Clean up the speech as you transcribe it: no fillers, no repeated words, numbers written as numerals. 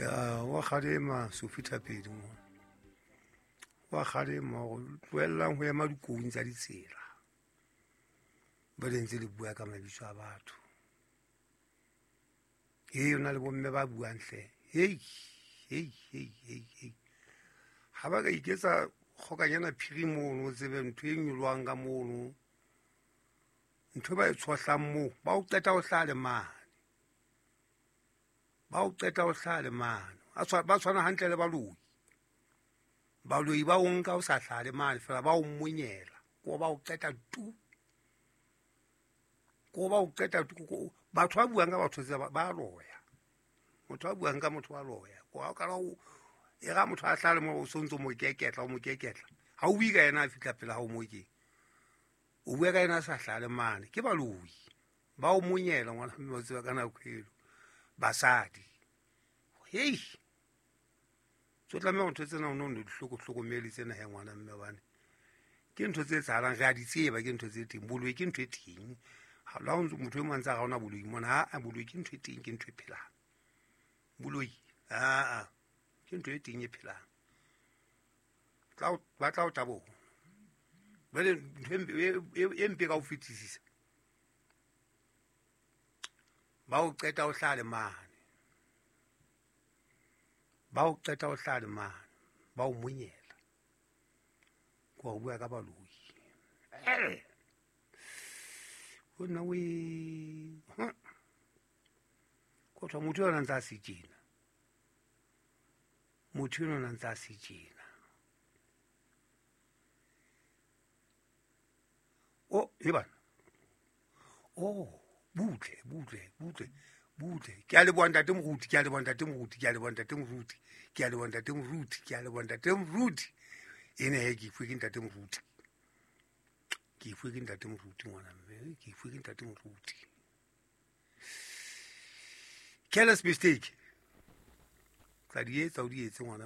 Ya wa kgalema Sophie Thapedi mo wa kgalema gore tlohellang ho ema dikoung tsa ditsela ba le ntse le bua ka mabitso a batho. Hei, o na le bomme ba buang hle. Hei, hei, hei, hei, hei, ha ba ka iketsa kgokanyana phiri mono, o tsebe ntho e nyolwang ka mono, ntho e ba e tshohlang moo, ba o qeta o hlale mane, ba o qeta o hlale mane. Ba tshwana hantle le baloi. Baloi ba o nka o sa hlale mane fela, ba o monyela ko ba o qeta tu, ko ba o qeta tu. Batho ba buang ka batho tse ba loya, motho a buang ka motho wa loya, ko ha o kala o e ga motho a hlale mo, o sontso mo keketla, o mo keketla, ha o bue ka yena a fihla pele ha o mo ke o bua ka yena a sa hlale mane. Ke baloi ba o monyela ngwana mme wa tseba ka nako elo basadi. Hei, tso tlameha ntho tsena o no di hlokomele tsena he ngwana mme, bane ke ntho tse etsahalang, re a di tseba, ke ntho tse teng. Boloi ke ntho e teng. Ha la motho e mong a ntse a ga ona boloi mona, ha boloi ke ntho e teng, ke ntho e phelang. Boloi aa ke ntho e teng e phelang. Ba tla o taboha. Jwale ntho e mpe ka ho fetisisa, ba o qeta o hlale mane, ba o qeta o hlale mane, ba o monyela ko go bua ka baloi. Ho nna o ko thwa motho yona ntse a se tjena, motho yona ntse a se tjena. O e bana o butle, butle, butle, butle. Ke a leboha ntate moruti, ke a leboha ntate moruti, ke a leboha ntate moruti, ke a leboha ntate moruti, ke a leboha ntate moruti. Ene he, ke ifuwe ke ntate moruti, ke ifuwe ke ntate moruti ngwana mme, ke ifuwe ke ntate moruti. Careless mistake tla di etsa, o di etse ngwana.